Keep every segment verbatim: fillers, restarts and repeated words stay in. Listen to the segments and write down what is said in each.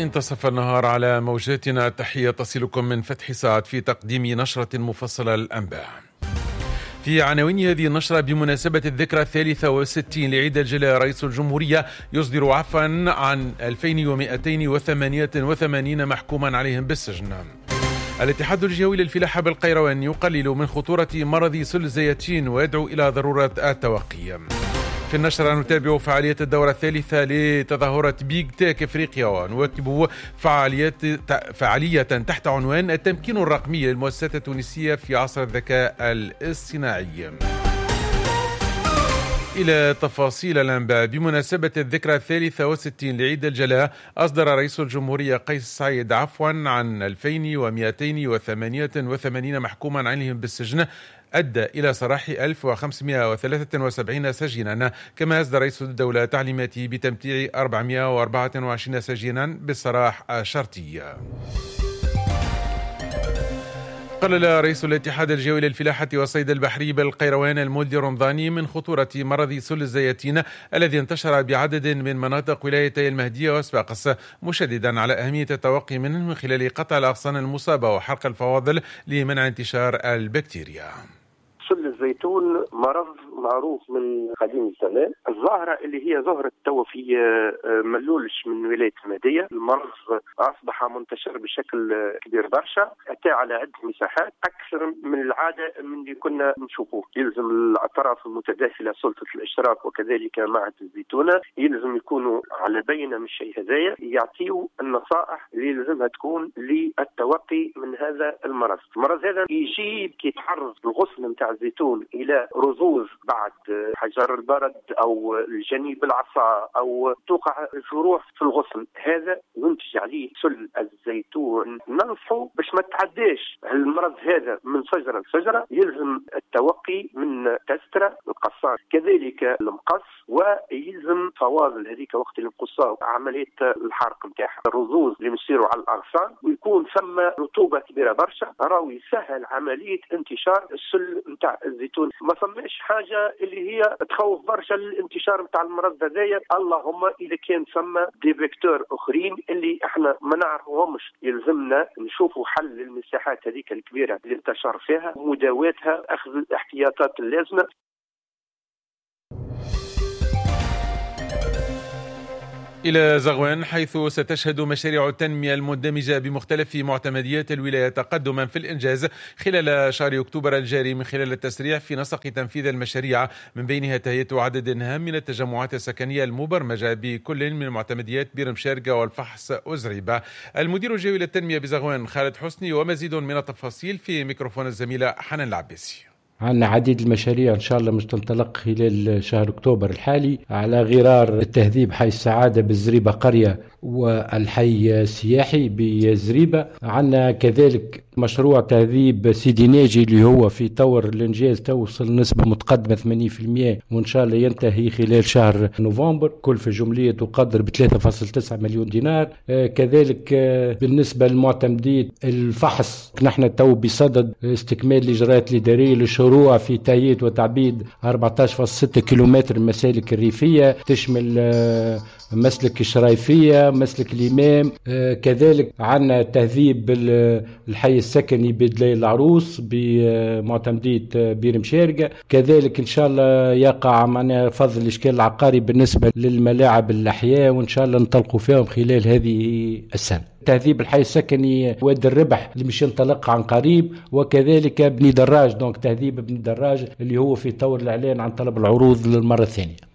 انتصف النهار على موجاتنا. تحية تصلكم من فتح ساعات في تقديم نشرة مفصلة للأنباء. في عناوين هذه النشرة: بمناسبة الذكرى الثالثة والستين لعيد الجلاء، رئيس الجمهورية يصدر عفوا عن ألفين ومئتين وثمانية وثمانين محكوما عليهم بالسجن. الاتحاد الجهوي للفلاحة بالقيروان يقلل من خطورة مرض سل الزيتين ويدعو إلى ضرورة التوقي. في النشرة نتابع فعالية الدورة الثالثة لتظاهرة Big Tech إفريقيا ونواكب فعاليات فعالية تحت عنوان التمكين الرقمي للمؤسسات التونسية في عصر الذكاء الاصطناعي. إلى تفاصيل الأنباء. بمناسبة الذكرى الثالثة والستين لعيد الجلاء، أصدر رئيس الجمهورية قيس سعيد عفوا عن ألفين ومئتين وثمانية وثمانين محكوما عليهم بالسجن، أدى إلى سراح ألف وخمسمائة وثلاثة وسبعين سجينا. كما أصدر رئيس الدولة تعليماته بتمتيع أربعمائة وأربعة وعشرين سجينا بالسراح الشرطي. قلل رئيس الاتحاد الجوي للفلاحة والصيد البحري بالقيروان المولدي رمضاني من خطورة مرض سل الزيتين الذي انتشر بعدد من مناطق ولايتي المهدية وصفاقس، مشددا على أهمية التوقي منه من خلال قطع الأغصان المصابة وحرق الفواضل لمنع انتشار البكتيريا. سل الزيتون مرض معروف من قديم الزمان، الظاهرة اللي هي ظهرت تو في ملولش من ولاية المهدية، المرض أصبح منتشر بشكل كبير برشا، أتى على عدة مساحات أكثر من العادة من اللي كنا نشوفوه. يلزم الأطراف المتداخلة سلطة الإشراف وكذلك معهد الزيتونة يلزم يكونوا على بينة من الشيء هذايا، يعطيوا النصائح اللي يلزمها تكون للتوقي من هذا المرض. المرض هذا يجي كي يتعرض الغصن نتاع الزيتون إلى رذوذ بعد حجر البرد أو الجني بالعصا أو توقع جروح في الغصن، هذا ينتج عليه سل الزيتون. ننصحه باش ما تعداش المرض هذا من شجرة لشجرة، يلزم التوقي من تسترة القصان كذلك المقص، ويلزم فواضل هذيك وقت اللي نقصوها عملية الحرق نتاعها، الرذوذ اللي يصيروا على الأغصان ويكون ثم رطوبة كبيرة برشا، راهو يسهل عملية انتشار السل نتاع الزيتون. ما فماش حاجة اللي هي تخوف برشا الانتشار نتاع المرض هذايا، اللهم اذا كان ثم des vecteurs اخرين اللي احنا ما نعرفوهمش، يلزمنا نشوفوا حل للمساحات هذيك الكبيرة اللي انتشر فيها، مداواتها، اخذ الاحتياطات اللازمة. إلى زغوان، حيث ستشهد مشاريع التنمية المندمجة بمختلف معتمديات الولاية تقدما في الإنجاز خلال شهر أكتوبر الجاري من خلال التسريع في نسق تنفيذ المشاريع، من بينها تهيئة عدد هام من التجمعات السكنية المبرمجة بكل من معتمديات بير مشارقة والفحص وزريبة. المدير الجوي للتنمية بزغوان خالد حسني ومزيد من التفاصيل في ميكروفون الزميلة حنان العباسي. عندنا عديد المشاريع إن شاء الله مش تنطلق خلال شهر أكتوبر الحالي، على غرار التهذيب حي السعادة بالزريبة قرية والحي السياحي بالزريبة. عندنا كذلك مشروع تهذيب سيدي ناجي اللي هو في طور الإنجاز، توصل نسبة متقدمة ثمانين بالمئة وإن شاء الله ينتهي خلال شهر نوفمبر، كلفة جملية تقدر ب ثلاثة فاصلة تسعة مليون دينار. كذلك بالنسبة للمعتمدين الفحص، نحن تو بصدد استكمال الإجراءات الإدارية للشروع في تهيئة وتعبيد أربعة عشر فاصلة ستة كيلومتر المسالك الريفية، تشمل مسلك الشرايفية، مسلك الإمام. كذلك عندنا تهذيب الحي السكني بدليل العروس بمعتمدية بير مشارقة. كذلك إن شاء الله يقع معنا فضل الإشكال العقاري بالنسبة للملاعب الأحياء، وإن شاء الله نطلقوا فيهم خلال هذه السنة. تهذيب الحي السكني واد الربح اللي مش ينطلق عن قريب، وكذلك بني دراج، donc تهذيب بني دراج اللي هو في طور الإعلان عن طلب العروض للمرة الثانية.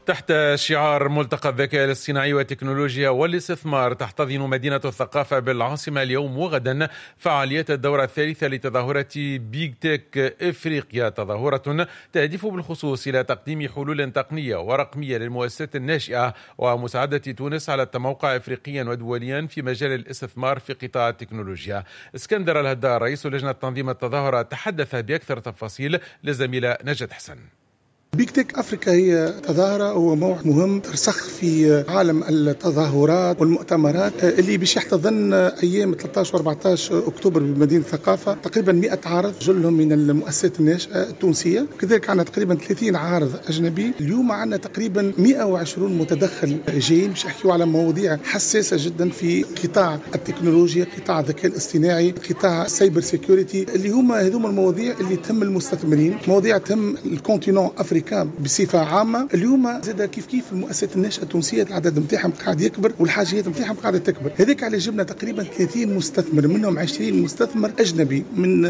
تحت شعار ملتقى الذكاء الاصطناعي والتكنولوجيا والاستثمار، تحتضن مدينة الثقافة بالعاصمة اليوم وغدا فعاليات الدورة الثالثة لتظاهرة Big Tech إفريقيا، تظاهرة تهدف بالخصوص إلى تقديم حلول تقنية ورقمية للمؤسسات الناشئة ومساعدة تونس على التموقع إفريقيا ودوليا في مجال الاستثمار في قطاع التكنولوجيا. اسكندر الهدار رئيس لجنة تنظيم التظاهرة تحدث بأكثر تفاصيل للزميلة نجاة حسن. Big Tech Africa هي تظاهرة هو موعد مهم ترسخ في عالم التظاهرات والمؤتمرات اللي باش يحتضن أيام ثلاثة عشر وأربعة عشر أكتوبر بمدينة الثقافة تقريبا مئة عارض جلهم من المؤسسات الناشئة التونسية، كذلك عندنا تقريبا ثلاثين عارض أجنبي. اليوم عندنا تقريبا مئة وعشرين متدخل جايين باش يحكيوا على مواضيع حساسة جدا في قطاع التكنولوجيا، قطاع الذكاء الاصطناعي، قطاع ال cyber security، اللي هما هذوما المواضيع اللي تهم المستثمرين، مواضيع تهم ال continent africain بصفة عامة. اليوم زاد كيف كيف المؤسسات الناشئة التونسية العدد نتاعهم قاعد يكبر والحاجيات نتاعهم قاعدة تكبر، هذاك على جبنا تقريبا ثلاثين مستثمر، منهم عشرين مستثمر اجنبي من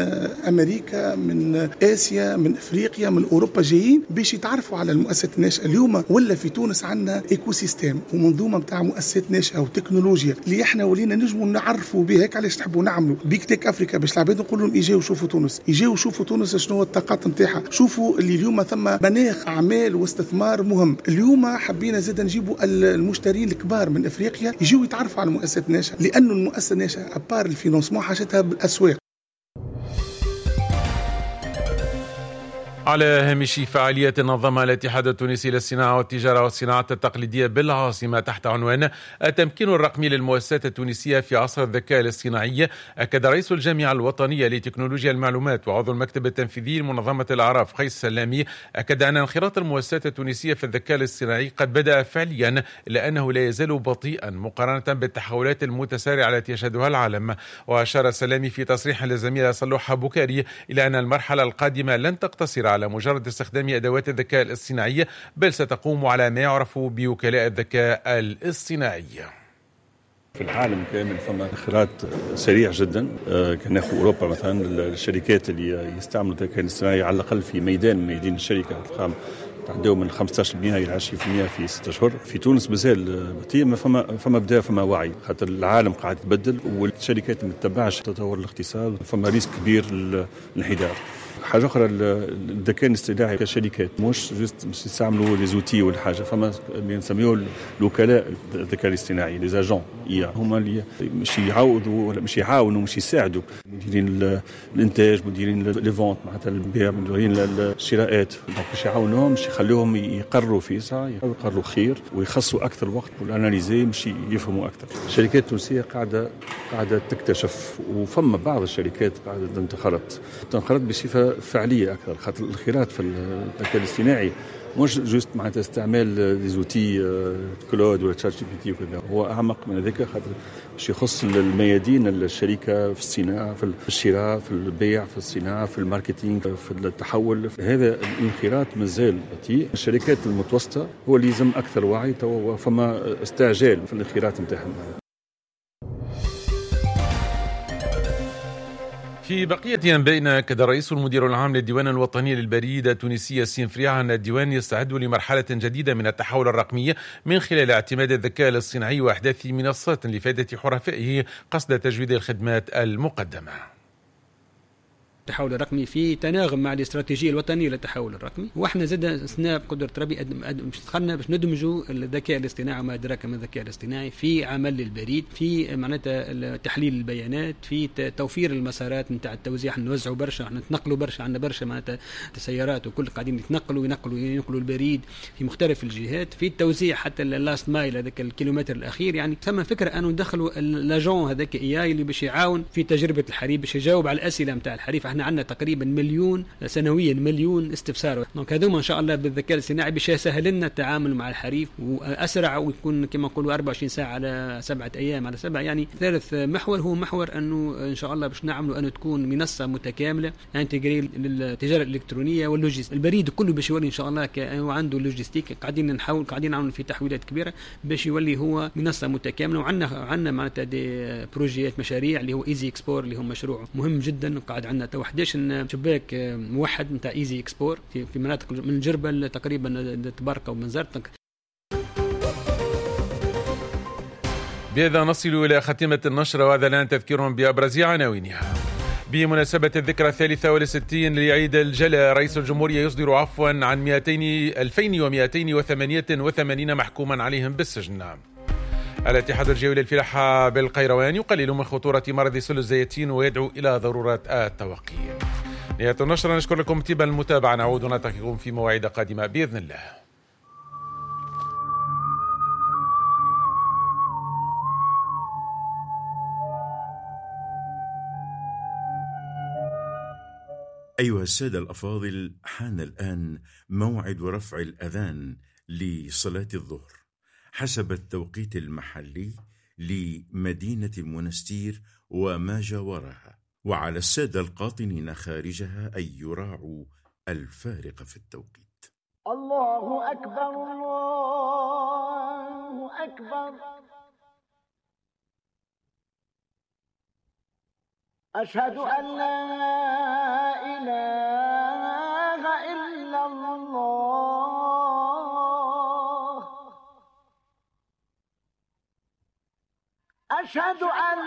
امريكا، من اسيا، من افريقيا، من اوروبا، جايين باش يتعرفوا على المؤسسات الناشئة. اليوم ولا في تونس عندنا écosystème ومنظومه نتاع مؤسسات ناشئة وتكنولوجيا اللي احنا ولينا نجموا نعرفوا بها. هيك علاش نحبوا نعملوا Big Tech Africa باش العباد نقول لهم اجاو شوفوا تونس، اجاو شوفوا تونس شنو الطاقات نتاعها، شوفوا اللي اليوم ثم مناخ اعمال واستثمار مهم. اليوم حبينا زاد نجيبوا المشترين الكبار من افريقيا يجيو يتعرفوا على المؤسسات الناشئة، لانه المؤسسة الناشئة à part ال financement حاجتها بالاسواق. على هامش فعالية نظمها الاتحاد التونسي للصناعة والتجارة والصناعة التقليدية بالعاصمة تحت عنوان التمكين الرقمي للمؤسسات التونسية في عصر الذكاء الاصطناعي، أكد رئيس الجامعة الوطنية لتكنولوجيا المعلومات وعضو المكتب التنفيذي لمنظمة الأعراف قيس سلامي، أكد أن انخراط المؤسسات التونسية في الذكاء الاصطناعي قد بدأ فعليا، إلا أنه لا يزال بطيئا مقارنة بالتحولات المتسارعة التي يشهدها العالم. وأشار سلامي في تصريح للزميلة صلوحة بكاري إلى أن المرحلة القادمة لن تقتصر على مجرد استخدام أدوات الذكاء الاصطناعي، بل ستقوم على ما يعرف بوكلاء الذكاء الاصطناعي. في العالم كامل فما انخراط سريع جدا. كان ناخذ اوروبا مثلا، الشركات اللي يستعملوا الذكاء الاصطناعي على الاقل في ميدان ميدان الشركة تلقاهم تعداو من خمسة عشر بالمئة الى عشرين بالمئة في ستة اشهر. في تونس مازال بطيء، ما فما فما بدا فما وعي، خاطر العالم قاعد يتبدل والشركات ما تتبعش تطور الاقتصاد، فما risque كبير للانحدار. حاجة اخرى، الذكاء الاصطناعي كشركات مش juste مش يستعملوا les outils ولا حاجة، فما اللي نسميوه الوكلاء الذكاء الاصطناعي les agents IA، هما اللي مش يعوضوا ولا مش يعاونوا مش يساعدوا مديرين الانتاج، مديرين les ventes معناتها البيع، مديرين الشراءات، donc باش يعاونوهم مش يخلوهم يقروا في ساعة، يقروا خير ويخصوا اكثر وقت وال analyser مش يفهموا اكثر. الشركات التونسية قاعدة قاعدة تكتشف، وفما بعض الشركات قاعدة تنخرط تنخرط بصفة فعليه اكثر، خاطر الانخراط في الذكاء الاصطناعي مش juste معناتها استعمال les outils Claude ولا ChatGPT وكذا، هو اعمق من هذاك، خاطر باش يخص الميادين الشركة في الصناعة، في الشراء، في البيع، في الصناعة، في ال marketing، في التحول. هذا الانخراط مازال بطيء. الشركات المتوسطة هو اللي يلزم اكثر وعي، فما استعجال في الانخراط نتاعهم. في بقية أنبائنا، أكد الرئيس المدير العام للديوان الوطني للبريد التونسي ياسين فريعة أن الديوان يستعد لمرحلة جديدة من التحول الرقمي من خلال اعتماد الذكاء الاصطناعي وإحداث منصات لفائدة حرفائه قصد تجويد الخدمات المقدمة. التحول الرقمي في تناغم مع الاستراتيجية الوطنية للتحول الرقمي، واحنا زاد سنا بقدره ربي دخلنا باش ندمجوا الذكاء الاصطناعي وما ادراك ما الذكاء الاصطناعي في عمل البريد، في معناتها تحليل البيانات، في توفير المسارات نتاع التوزيع. نوزعوا برشا، احنا نتنقلوا برشا، عندنا برشا معناتها سيارات وكل قاعدين يتنقلوا ينقلوا ينقلوا البريد في مختلف الجهات، في التوزيع حتى ال last mile هذاك الكيلومتر الاخير. يعني ثم فكرة انه ندخلوا l'agent هذاك AI اللي باش يعاون في تجربه الحريف، باش يجاوب على الاسئلة نتاع الحريف. احنا عندنا تقريبا مليون سنويا، مليون استفسار. donc هذوما ان شاء الله بالذكاء الاصطناعي باش يسهل لنا التعامل مع الحريف واسرع، ويكون كما نقولوا أربعة وعشرين ساعة على سبعة ايام على سبعة. يعني ثالث محور هو محور انه ان شاء الله باش نعملوا انه تكون منصة متكاملة intégrée للتجارة الالكترونية وال logistique. البريد كله باش يولي ان شاء الله كانه عنده logistique، قاعدين نحاول قاعدين نعملوا في تحويلات كبيرة باش يولي هو منصة متكاملة. وعندنا عندنا معناتها des projets مشاريع اللي هو Easy Export اللي هو مشروع مهم جدا، قاعد عندنا تو إحدى عشر شباك موحد نتاع Easy Export في مناطق من جربة تقريبا تباركه وبنزرت. بهذا نصل إلى خاتمة النشرة، وهذا الآن تذكير بأبرز عناوينها. بمناسبة الذكرى الثالثة والستين لعيد الجلاء، رئيس الجمهورية يصدر عفوا عن ألفين ومئتين وثمانية وثمانين محكوما عليهم بالسجن. الاتحاد الجوي للفلاحة بالقيروان يقلل من خطورة مرض سل الزيتين ويدعو إلى ضرورة التوقي. نهاية النشرة، نشكر لكم طيب المتابعة، نعود ونلتقيكم في مواعيد قادمة بإذن الله. أيها السادة الأفاضل، حان الآن موعد رفع الأذان لصلاة الظهر حسب التوقيت المحلي لمدينة المنستير وما جاورها، وعلى السادة القاطنين خارجها أن يراعوا الفارق في التوقيت. الله أكبر، الله أكبر، أشهد أن لا إله إلا الله، أشهد أن